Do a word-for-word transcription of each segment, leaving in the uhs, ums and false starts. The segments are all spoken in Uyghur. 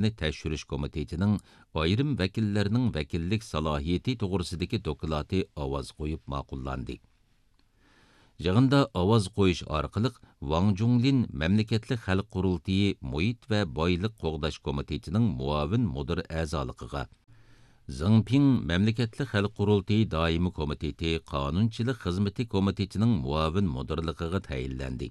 سىياسەتنى تەكشۈرۈش كومىتېتىنىڭ ئايرىم ۋەكىللىرىنىڭ ۋەكىللىك سالاھىيىتى توغرىسىدىكى دوكلاتى ئاۋاز قويۇپ ماقۇللاندى. يىغىندا ئاۋاز قويۇش ئارقىلىق ۋاڭ جۇڭلىن مەملىكەتلىك خەلق قۇرۇلتىيى مۇھىت ۋە بايلىق قوغداش كومىتېتىنىڭ مۇئاۋىن مۇدىر ئەزالىقىغا، زېڭ پىڭ مەملىكەتلىك خەلق قۇرۇلتىيى دائىمىي كومىتېتى قانۇنچىلىق خىزمىتى كومىتېتىنىڭ مۇئاۋىن مۇدىرلىقىغا تەيىنلەندى.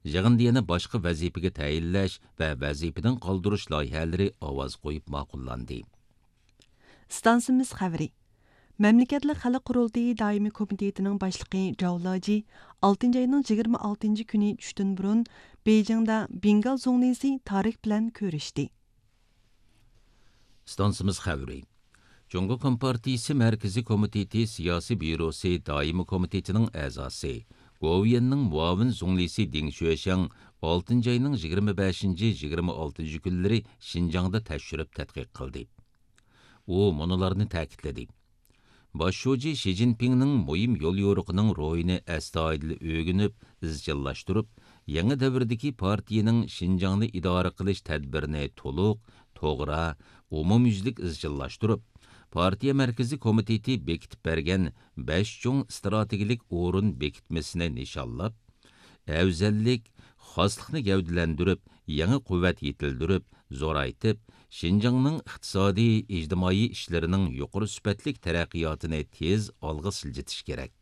يىغىندا يەنە باشقا ۋەزىپىگە تەيىنلەش ۋە ۋەزىپىدىن قالدۇرۇش لايىھەلىرى ئاۋاز قويۇپ ماقۇللاندى. ئىستانسىمىز خەۋىرى. مەملىكەتلىك خەلق قۇرۇلتىيى دائىمىي كومىتېتىنىڭ باشلىقى جاۋ لاجى ئالتىنچى ئاينىڭ يىگىرمە ئالتىنچى كۈنى چۈشتىن بۇرۇن بېيجىڭدا بېنگال زۇڭلىسى تارىك بىلەن كۆرۈشتى. ئىستانسىمىز خەۋىرى. جۇڭگو كومپارتىيىسى مەركىزىي كومىتېتى سىياسىي بيۇروسى دائىمىي كومىتېتىنىڭ ئەزاسى، گوۋۇيۈەننىڭ مۇئاۋىن زۇڭلىسى دېڭ شۆشياڭ ئالتىنچى ئاينىڭ يىگىرمە بەشىنچى، يىگىرمە ئالتىنچى كۈنلىرى شىنجاڭدا تەكشۈرۈپ تەتقىق قىلدى. ئۇ مۇنۇلارنى تەكىتلىدى: باش شۇجى شى جىنپىڭنىڭ مۇھىم يوليورۇقىنىڭ روھىنى ئەستايىدىل ئۆگىنىپ، ئىزچىللاشتۇرۇپ، يېڭى دەۋردىكى پارتىيىنىڭ شىنجاڭنى ئىدارە قىلىش تەدبىرىنى تولۇق، توغرا، ئومۇميۈزلۈك ئىزچىللاشتۇرۇپ، پارتىيە مەركىزىي كومىتېتى بېكىتىپ بەرگەن بەش چوڭ ئىستراتېگىيەلىك ئورۇن بېكىتمىسىنى نىشانلاپ، ئەۋزەللىك، خاسلىقنى گەۋدىلەندۈرۈپ، يېڭى قۇۋۋەت يېتىلدۈرۈپ، زورايتىپ، شىنجاڭنىڭ ئىقتىسادىي، ئىجتىمائىي ئىشلىرىنىڭ يۇقىرى سۈپەتلىك تەرەققىياتىنى تېز ئالغا سىلجىتىش كېرەك.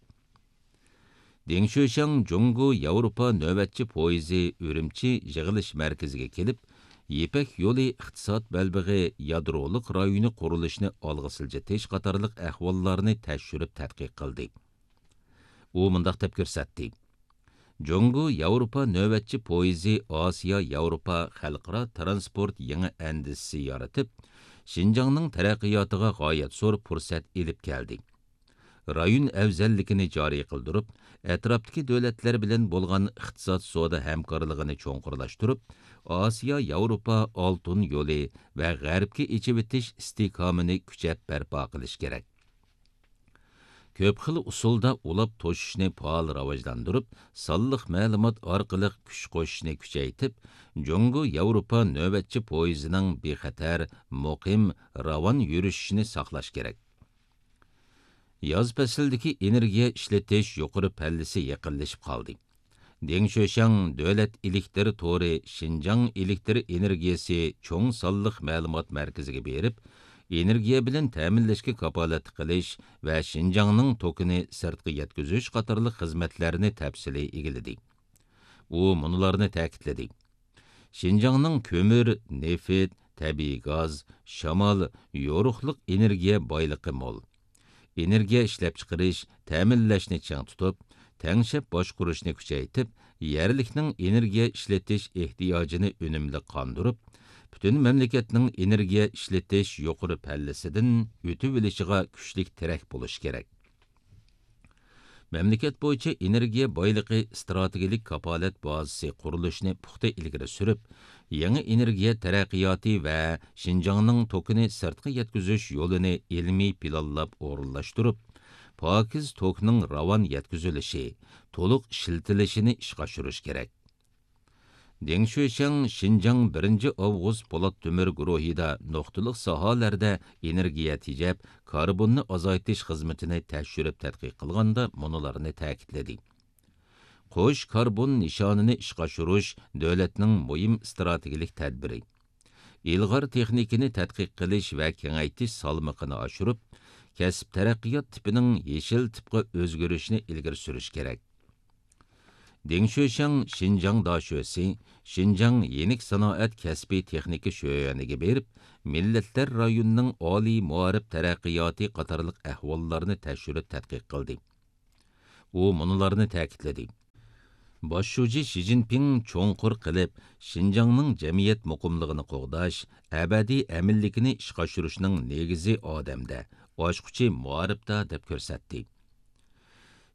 دېڭ شۆشياڭ جۇڭگو ياۋروپا نۆۋەتچى پويىزى ئۈرۈمچى يىغىلىش مەركىزىگە كېلىپ، يىپەك يولى ئىقتىساد بەلبېغى يادرولۇق رايونى قۇرۇلۇشىنى ئالغا سىلجىتىش قاتارلىق ئەھۋاللارنى تەكشۈرۈپ تەتقىق قىلدى. ئۇ مۇنداق دەپ كۆرسەتتى: جۇڭگو ياۋروپا نۆۋەتچى پويىزى ئاسىيا ياۋروپا خەلقئارا ترانسپورت يېڭى ئەندىزىسى يارىتىپ، شىنجاڭنىڭ تەرەققىياتىغا غايەت زور پۇرسەت ئېلىپ كەلدى. رايون ئەۋزەللىكىنى جارى قىلدۇرۇپ، ئەتراپتىكى دۆلەتلەر بىلەن بولغان ئىقتىساد سودا ھەمكارلىقىنى چوڭقۇرلاشتۇرۇپ، ئاسىيا ياۋروپا ئالتۇن يولى ۋە غەربكە ئېچىۋېتىش ئىستىھكامىنى كۈچەپ بەرپا قىلىش كېرەك. كۆپ خىل ئۇسۇلدا ئۇلاپ توشۇشنى پائال راۋاجلاندۇرۇپ، سانلىق مەلۇمات ئارقىلىق كۈچ قوشۇشنى كۈچەيتىپ، جۇڭگو ياۋروپا نۆۋەتچى پويىزىنىڭ بىخەتەر، مۇقىم، راۋان يۈرۈشۈشىنى ساقلاش كېرەك. ياز پەسلىدىكى ئېنېرگىيە ئىشلىتىش يۇقىرى پەللىسى يېقىنلىشىپ قالدى. دېڭ شۆشياڭ دۆلەت ئېلېكتىر تورى شىنجاڭ ئېلېكتىر ئېنېرگىيەسى چوڭ سانلىق مەلۇمات مەركىزىگە بېرىپ، ئېنېرگىيە بىلەن تەمىنلەشكە كاپالەتلىك قىلىش ۋە شىنجاڭنىڭ توكىنى سىرتقا يەتكۈزۈش قاتارلىق خىزمەتلەرنى تەپسىلىي ئىگىلىدى. ئۇ مۇنۇلارنى تەكىتلىدى: شىنجاڭنىڭ كۆمۈر، نېفىت، تەبىئىي گاز، شامال، يورۇقلۇق ئېنېرگىيە بايلىقى مول. ئېنېرگىيە ئىشلەپچىقىرىش، تەمىنلەشنى چىڭ تۇتۇپ، تەڭشەپ باشقۇرۇشنى كۈچەيتىپ، يەرلىكنىڭ ئېنېرگىيە ئىشلىتىش ئېھتىياجىنى ئۈنۈملۈك قاندۇرۇپ، پۈتۈن مەملىكەتنىڭ ئېنېرگىيە ئىشلىتىش يۇقىرى پەللىسىدىن ئۆتۈۋېلىشىغا كۈچلۈك تىرەك بولۇشى كېرەك. مەملىكەت بويىچە ئېنېرگىيە بايلىقى ئىستراتېگىيەلىك كاپالەت بازىسى قۇرۇلۇشىنى پۇختا ئىلگىرى سۈرۈپ، يېڭى ئېنېرگىيە تەرەققىياتى ۋە شىنجاڭنىڭ توكىنى سىرتقا يەتكۈزۈش يولىنى ئىلمىي پىلانلاپ ئورۇنلاشتۇرۇپ، پاكىز توكنىڭ راۋان يەتكۈزۈلۈشى، تولۇق ئىشلىتىلىشىنى ئىشقا ئاشۇرۇش كېرەك. دېڭ شۆشياڭ شىنجاڭ بىرىنچى ئاۋغۇست پولات تۆمۈر گۇرۇھىدا نۇقتىلىق ساھەلەردە ئېنېرگىيە تېجەپ، كاربوننى ئازايتىش خىزمىتىنى تەكشۈرۈپ تەتقىق قىلغاندا مۇنۇلارنى تەكىتلىدى: قوش كاربون نىشانىنى ئىشقا ئاشۇرۇش دۆلەتنىڭ مۇھىم ئىستراتېگىيەلىك تەدبىرى. ئىلغار تېخنىكىنى تەتقىق قىلىش ۋە كېڭەيتىش سالمىقىنى ئاشۇرۇپ، كەسىپ تەرەققىيات تىپىنىڭ يېشىل تىپقا ئۆزگىرىشىنى ئىلگىرى سۈرۈش كېرەك. دېڭ شۆشياڭ شىنجاڭ داشۆسى، شىنجاڭ يېنىك سانائەت كەسپىي تېخنىكا شۆيۈەنىگە بېرىپ، مىللەتلەر رايونىنىڭ ئالىي مائارىپ تەرەققىياتى قاتارلىق ئەھۋاللارنى تەكشۈرۈپ تەتقىق قىلدى. ئۇ مۇنۇلارنى تەكىتلىدى: باش شۇجى شى جىنپىڭ چوڭقۇر قىلىپ، شىنجاڭنىڭ جەمئىيەت مۇقىملىقىنى قوغداش، ئەبەدىي ئەمىنلىكىنى ئىشقا ئاشۇرۇشنىڭ نېگىزى ئادەمدە، ئاچقۇچى مائارىپتا، دەپ كۆرسەتتى.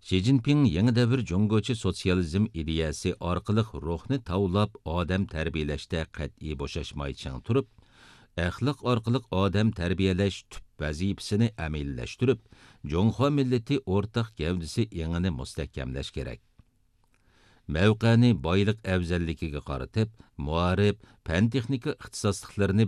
شى جىنپىڭ يېڭى دەۋر جۇڭگوچە سوتسىيالىزم ئىدىيەسى ئارقىلىق روھنى تاۋلاپ ئادەم تەربىيەلەشتە قەتئىي بوشاشماي چىڭ تۇرۇپ، ئەخلاق ئارقىلىق ئادەم تەربىيەلەش تۈپ ۋەزىپىسىنى ئەمەلىيلەشتۈرۈپ، جۇڭخۇا مىللىتى ئورتاق گەۋدىسى ئېڭىنى مۇستەھكەملەش كېرەك. مەۋقەنى بايلىق ئەۋزەللىكىگە قارىتىپ، مائارىپ، پەن-تېخنىكا ئىختىساسلىقلىرىنى